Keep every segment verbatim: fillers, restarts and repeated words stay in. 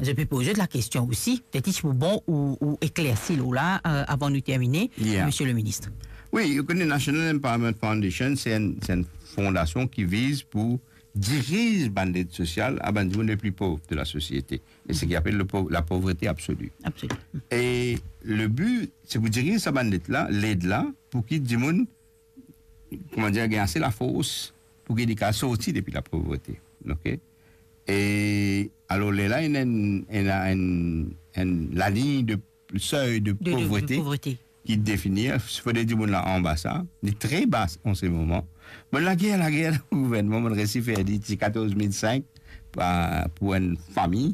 Zot pe poz zot lakestion osi, petet si pou bon ou, ou eklersi lor la, euh, avan nou termine, Yeah. Monsieur le Ministre. Wi, ou kone National Empowerment Foundation, se enn, se enn fondasion ki viz pou diriz bann led sosial a bann dimoun le pli pov de la sosiete. E seki apel le pov-, la pauvreté absolue. Absolue. E le bi, se pou diriz sa bann led la, led la, pou ki dimoun, kouma dir, gagn ase lafors pou ki li kapav sorti depi lapovrete. Ok? E alor, lerla, ena enn, ena enn, enn lalign de, sey de De, de, de povrete povrete. Ki defini, fode dimoun la anba sa, li tre ba an se moman. Bon, lager, lager, gouvernman, mo'nn resi fer li ti katorz mil sink pa, pou enn fami,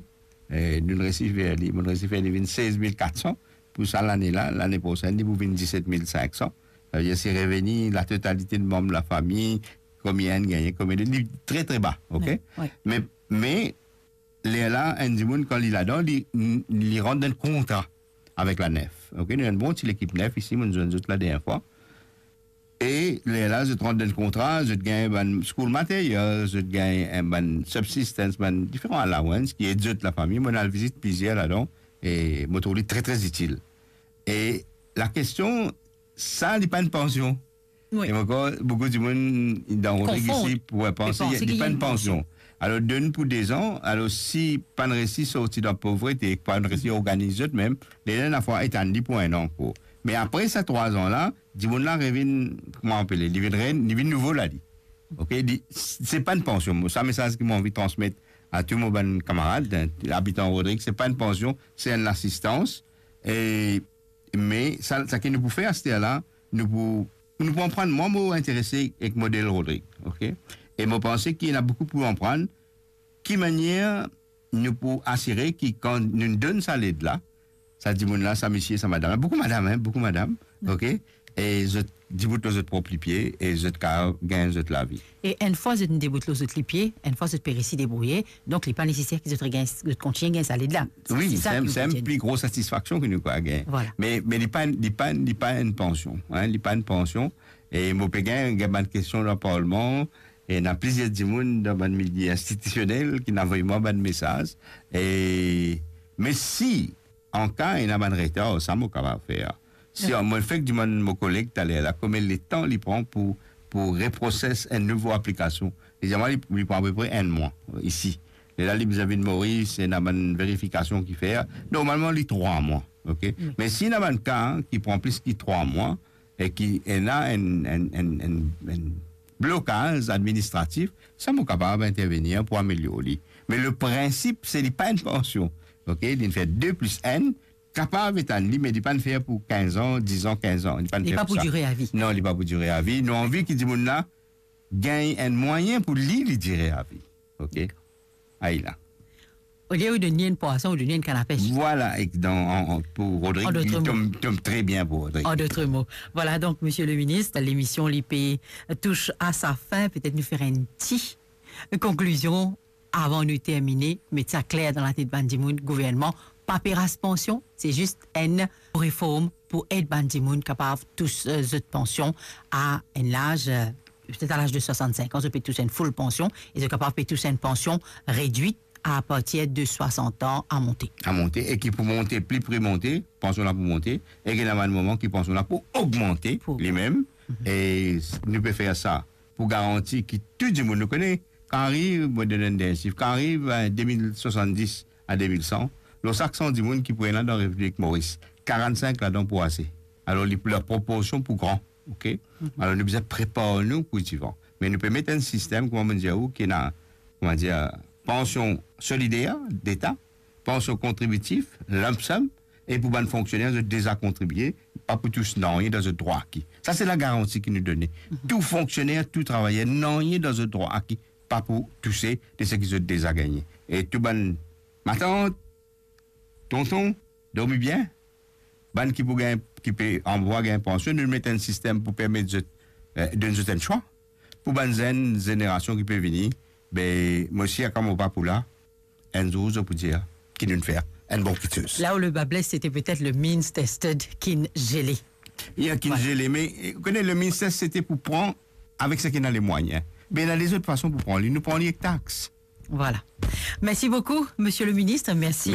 e, nou resi fer li, mo'nn resi fer li vinn sez mil kat san, pou sa lane la, lane prosenn, li pou vinn diset mil sink san. Savedir, si reveni latotalite de manb lafami, konbien enn gagne, konbien de, li tre, tre ba, ok? Wi, wi. Me, me, lerla, enn dimoun, kan li ladan, li, li rant dan kontra avek la NEF, ok? Nou ena enn bon ti lekip NEF isi, mo'nn zwenn zot la dernie fwa. E lerla, zot rant dan kontra, zot gagn bann school material, zot gagn, eh, bann subsistance, bann diferan allowance ki ed zot lafami. Mo'nn al vizit plizier ladan, e mo trouv li tre, tre itil. E lakestion, sa, li pa enn pansion. Wi. E ankor, boukou dimoun dan Rodrig Konfonn. Isi pou panse, Pe panse li ki pa enn pansion. Alor, donn pou dezan, alor, si pa'nn resi sorti dan povrete, pa'nn resi organiz zot mem, lerla, lafwa, etann li pou enn an ankor. Me apre sa trwa an la, dimoun la revinn, kouma apele, li vinn re-, li vinn nouvo la, li. Ok, li, se pa enn pansion. Mo, sa mesaz ki mo anvi transmet a tou mo bann kamarad, eh, abitan Rodrig, se pa enn pansion, se enn lasistans. E, me sa, seki nou pou fer aster la, nou pou, nou pou aprann. Mwa, mo interese ek model Rodrig, ok? E mo panse ki ena boukou pou aprann, ki manier nou pou asire ki kan nou donn sa led la, sa dimoun la, sa misie, sa madam la, boukou madam, hein, boukou madam, ok? E zot dibout lor zot prop lipie e zot kapav gagn zot lavi. E enn fwa zot dibout lor zot lipie, enn fwa zot pe resi debrouye, donk li pa neseser ki zot regagn, zot kontigne gagn sa led la. Wi, se sa ki nou pe dir. Se enn pli gro satisfaksion ki nou kapav gagn. Vwala. Me, me li pa, li pa, li pa enn pansion, hein, li pa enn pansion. E mo pe gagn, gagn bann kestion dan parlman, e ena plizier dimoun dan bann milie institisionel ki inn avoy mwa bann mesaz. E, me si an ka ena bann retar, sa mo kapav fer. Si, wi, mo fek dimann mo koleg taler la, konbien letan li pran pou, pou reproses enn nouvo aplikasion. Li dir mwa, li, li pran apepre enn mwa, isi. Lerla li bizin vinn Moris, ena bann verifikasion ki fer. Normalman, li trwa mwa, ok? Wi. Me si ena bann ka ki pran plis ki trwa mwa, e ki ena enn, enn, enn, enn, enn blokaz administratif, sa mo kapav intervenir pou amelior li. Me le prinsip, se li pa enn pansion, ok? Li fer de plis enn, kapav etann li, me li pa'nn fer pou kinz an, diz an, kinz an. Li pa'nn fer pou sa. Li pa pou dire avi. Non, li pa pou dire avi. Nou anvi ki dimoun la gagn enn mwayin pou li, li dire avi. Ok? Ayi la. Olie ou donn li enn pwason, ou donn li enn kann a pes. Vwala, ek dan, an, an, pou Rodrig, li tom, tom tre bien pou Rodrig. En d'autres mots. Voilà donc, Monsieur le Ministre, lemision li pe tous a sa fin. Petet nou fer enn ti konklizion avan nou termine, met sa kler dan latet bann dimoun, gouvernman pa pe ras pansion, se zis enn reform pou ed bann dimoun kapav tous, euh, zot pansion a enn laz, euh, petet a laz de swasann-sink an, zot pe tous enn full pansion, e zot kapav pe tous enn pansion redwit a partir de swasant an a monte. A monte, e ki pou monte, pli pri monte, pansion la pou monte, e ki ena bann moman ki pansion la pou ogmante limem, e s-, nou pe fer sa pou garanti ki tou dimoun, nou kone, kan ariv, mo donn enn dernie sif, kan ariv, eh, de mil swasanndis a de mil san, lor sak san dimoun ki pou ena dan Repiblik Moris, karannsink ladan pou ase. Alor, li, laproporsion pou gran, ok? Alor, nou bizin prepar nou pou divan. Me nou pe met enn sistem, kouma mo dir ou, ki ena, kouma dir, pansion solider deta, pansion kontribitif, lump sum, e pou bann fonksioner, zot deza kontribie, pa pou tous nanye dan zot drwa aki. Sa se lagaranti ki nou done. Tou fonksioner, tou travayer, nanye dan zot drwa aki pa pou touse de seki zot deza gagne. E tou bann matant, tonton, dormi bien. Bann ki pou gagn, ki pe anvi gagn pansion, nou met enn sistem pou permet zot, eh, donn zot enn swa. Pou bann zenn zenerasion ki pe vini, be, mo sir kan mo pa pou la, enn zour zot pou dir ki nou fer enn bon kiksoz. Là où le bât blesse, c'était peut-être le means tested ki'nn gelé. Ya, ki'nn gelé, me, eh, ou kone, le means test, sete pou pran avek seki ena lemwayin. Me ena lezot fason pou pran li. Nou pran li ek tax. Voilà. Merci beaucoup, Monsieur le Ministre. Merci.